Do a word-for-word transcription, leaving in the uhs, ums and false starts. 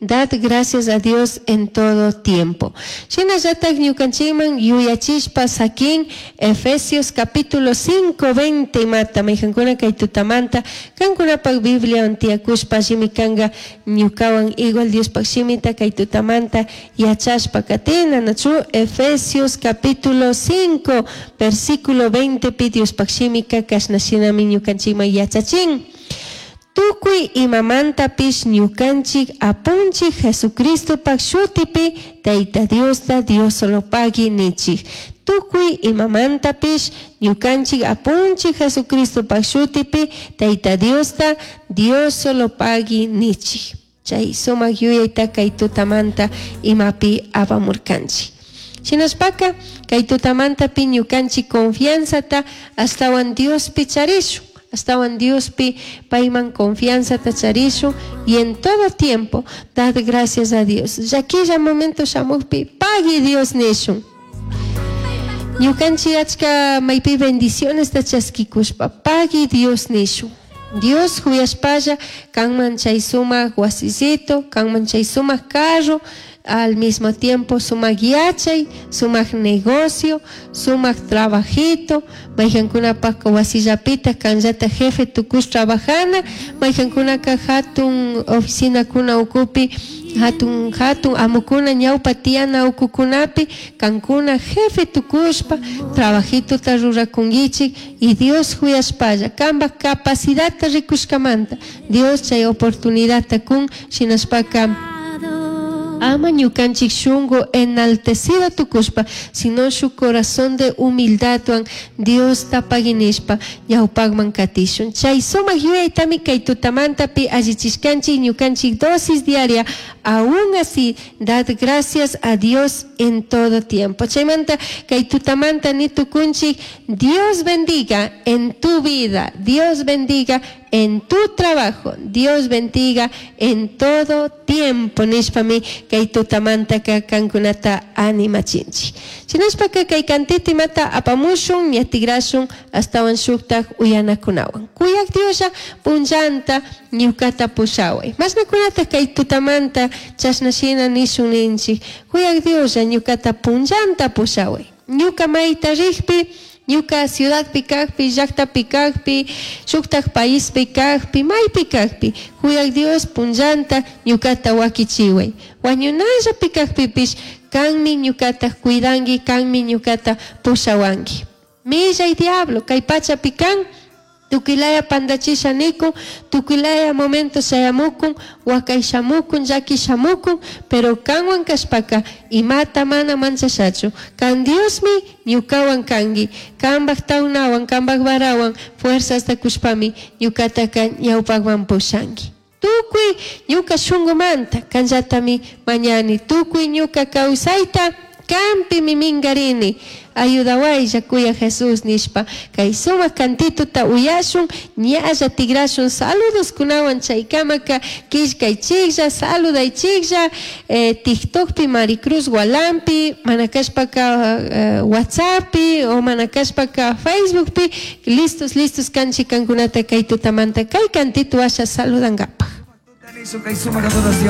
Dad gracias a Dios en todo tiempo. Shinallatak ñukanchikman yuyachishpa sakin Efesios capítulo cinco veinte mata maykankuna kay tutamanta kankunapak Bibliawan tiyakushpa allimi kanka ñukawan igual Diospak shimita kay tutamanta yachashpa katina, nachu? Efesios capítulo cinco versículo veinte pi Diospak shimika kashna shinami ñukanchikman yachachin. Tukuy imamantapish ñukanchik apunchik Jesucristopak shutipi Tayta Diosta Diosolopagui nichik. Tukuy imamantapish ñukanchik apunchik Jesucristopak shutipi Tayta Diosta Diosolopagui nichik. Chay sumak yuyayta kay tutamanta imapi apamurkanchik. Shinashpaka kay tutamantapi ñukanchik confianzata ashtawan Diospi charishun. Ashtawan Diospi payman confianzata charishun y en todo tiempo dad gracias a Dios. Llaquilla momento shamukpi pagui Dios nishun. Ñukanchik achka maypi bendiciones ta chaskikushpa pagui Dios nishun. Dios huyashpalla kanman chay sumak wasisito, kanman chay sumak carro, al mismo tiempo sumak yachay, sumak negocio, sumak trabajito, maykankunapaka wasillapita kanllata jefe tukush trabajana, maykankunaka hatun oficinakuna ukupi, hatun hatun amukuna ñawpa tiyana ukukunapi, kankuna jefe tukushpa trabajitota rurakunkichik y Dios huyashpalla kanpak capacidadta rikushkamanta Dios chay oportunidadta kun shinashpaka ama ñukanchik shunku enaltecido tukushpa, sino su corazón de humildadwan Diosta paginishpa ñawpakman katishun. Chay sumak yuyaytami kay tutamantapi allichishkanchik ñukanchik dosis diaria, aún así dad gracias a Dios en todo tiempo. Chaymanta kay tutamanta ni tukunchik, Dios bendiga en tu vida, Dios bendiga en tu trabajo, Dios bendiga en todo tiempo. Nishpami kay tutamantaka kankunata animachinchik. Shinashpaka kay cantito imata apamushun, ña tigrashun ashtawan shuktak uyanakunawan. Kuyak Dioslla punllanta ñukata pushaway. Mashnakunata kay tutamanta chashna shina nishun ninchik. Kuyak Dioslla ñukata punllanta pushaway. Ñuka mayta rikpi, ñuka ciudadpi kakpi, llaktapi kakpi, shuktak paispi kakpi, maypi kakpi, kuyak Dios punllanta ñukata wakichiway. Wañunallapi kakpipish kanmi ñukata cuidanki, kanmi ñukata pushawanki. Millay diablo, kay pachapi kan, tukilaya pandachisha nikun, tukilaya momento shayamukun, wakay shamukun, llaki shamukun, pero kanwan kashpaka imata mana manchashachu. Kan Diosmi ñukawan kanki, kanpak tawnawan, kanpak varawan, fuerzasta kushpami ñukataka ñawpakman pushanki. Tukuy ñuka shunkumanta kanllatami mañani, tukuy ñuka kawsayta kampimi minkarini. Ayudawaylla kuya Jesús nishpa kay sumak cantituta uyashun, ñalla tigrashun saludos kunawan chaykamaka killkaychiklla, saludaychiklla, eh, TikTokpi Maricruz Gualampi, mana kashpaka, eh, WhatsAppi o mana kashpaka Facebookpi, listos, listos kanchik kankunata kay tutamanta kay cantitu asha saludankapaj. Kay sumak adoración.